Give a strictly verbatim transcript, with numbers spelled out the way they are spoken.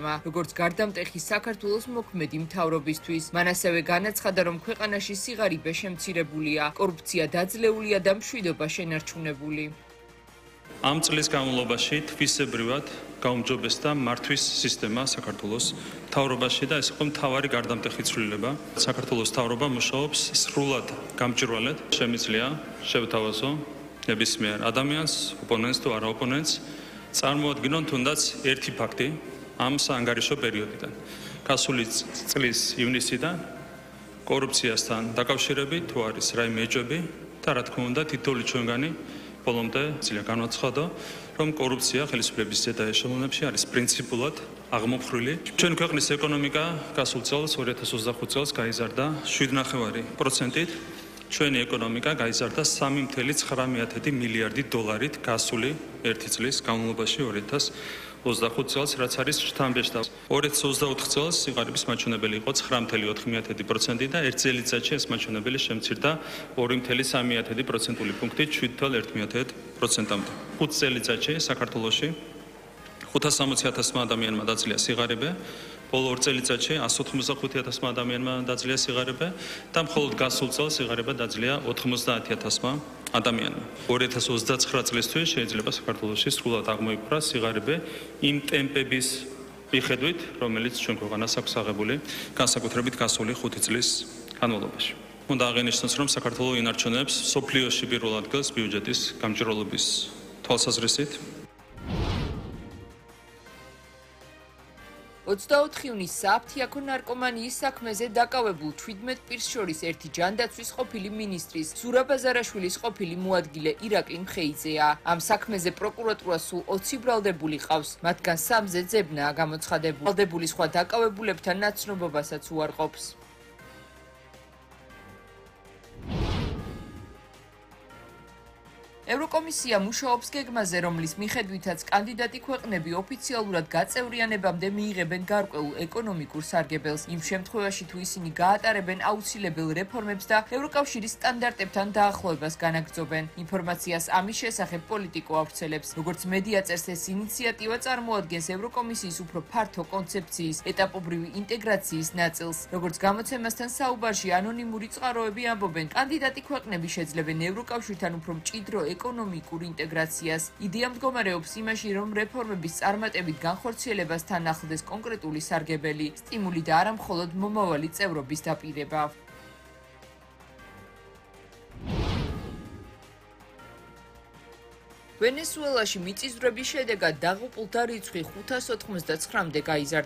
როგორც გარდამტეხი საქართველოს მოქმედი მთავრობისთვის. მან ასევე განაცხადა, რომ ქვეყანაში სიღარიბე შემცირებულია, კორუფცია დაძლეულია და მშვიდობა შენარჩუნებული. ამ წლის განმავლობაში თვისებრივად გაუმჯობესდა მართვის სისტემა საქართველოს მთავრობაში და ეს იყო მთავარი გარდამტეხი ცვლილება. საქართველოს მთავრობა მუშაობს სრულად გამჭვირვალედ. შემიძლია შევთავაზო ნებისმიერ ადამიანს, ოპონენტს თუ არა ოპონენტს, წარმოადგინონ თუნდაც ერთი ფაქტი ამ საანგარიშო პერიოდიდან. გასული წლის ივნისიდან კორუფციასთან დაკავშირებით თუ არის რაიმე ეჭვები და რა თქმა უნდა თითოეული ჩვენგანი ბოლომდე ძლიერად განაცხადა, რომ კორუფცია ხელისუფლების ზედა ეშელონებში არის პრინციპულად აღმოფხრილი. ჩვენი ქვეყნის ეკონომიკა გასულ წელს ორი ათას ოცდახუთ წელს გაიზარდა შვიდ ნახევარი პროცენტით. ჩვენი ეკონომიკა გაიზარდა სამი წუთი ცხრამეტი მილიარდი დოლარით გასული ერთი წლის განმავლობაში ორი ათას ოცდახუთ წელს, რაც არის შთამბეჭდავ. ორი ათას ოცდაოთხ წელს სიღარიბის მაჩვენებელი იყო ცხრა წუთი ოთხ პროცენტი და ერთ წელიწადში ეს მაჩვენებელი შემცირდა ორი წუთი სამი პროცენტული პუნქტით შვიდ წუთი ერთ პროცენტამდე. ხუთ წელიწადში საქართველოში ხუთას სამოცი ათასმა ადამიანმა დაძლია სიღარიბე, ბოლო ორ წელიწადში ასს ოთხმოცდახუთი ათასმა ადამიანმა დაძლია სიღარიბე და მხოლოდ გასულ წელს სიღარიბე დაძლია ოთხმოცდაათი ათასმა ადამიანმა. ორი ათას ოცდაცხრა წლისთვის შეიძლება საქართველოში სრულად აღმოიფხვრა სიღარიბე იმ ტემპების მიხედვით, რომელიც ჩვენ ქვეყანას აქვს აღებული, განსაკუთრებით გასული ხუთი წლის განმავლობაში. უნდა აღინიშნოს, რომ საქართველო ინარჩუნებს სოფლიოში პირველ ადგილს ბიუჯეტის გამჭვირვალობის თვალსაზრისით. ოცდაოთხ ივნისს საფთიაქო ნარკომანიის საქმეზე დაკავებულ თვრიდმეტ პირს შორის ერთი ჯანდაცვის ყოფილი მინისტრის ზურაბ აზარაშვილის ყოფილი მოადგილე ირაკლი მხეიძეა. ამ საქმეზე პროკურატურა სულ ოცი ბრალდებული ყავს, მათგან სამზე ძებნაა გამოცხადებული. ბრალდებული სხვა დაკავებულებთან ნაცნობობასაც უარყოფს. ევროკომისია მუშაობს გეგმაზე, რომლის მიხედვითაც კანდიდატი ქვეყნები ოფიციალურად გაწევრიანებამდე მიიღებენ გარკვეულ ეკონომიკურ სარგებელს. იმ შემთხვევაში, თუ ისინი გაატარებენ აუცილებელ რეფორმებს და ევროკავშირის სტანდარტებთან დაახლოებას განაგრძობენ. ინფორმაციას ამის შესახებ პოლიტიკო ავრცელებს. როგორც მედია წერს, ეს ინიციატივა წარმოადგენს ევროკომისიის უფრო ფართო კონცეფციის ეტაპობრივი ინტეგრაციის ნაწილს. როგორც გამოცემასთან საუბარში ანონიმური წყაროები ამბობენ, კანდიდატი ქვეყნები შეძლებენ ევროკავშირთან უფრო მჭიდრო ეკონომიკურ ინტეგრაციას. იდეა მდგომარეობს იმაში, რომ რეფორმების წარმატებით განხორციელებასთან ახლდეს კონკრეტული სარგებელი, სტიმული და არა მხოლოდ მომავალი წევრობის დაპირება. ვენესუელაში მიწისძვრების შედეგად დაღუპულთა რიცხვი ხუთას ოთხმოცდაცხრამდე გაიზარდა.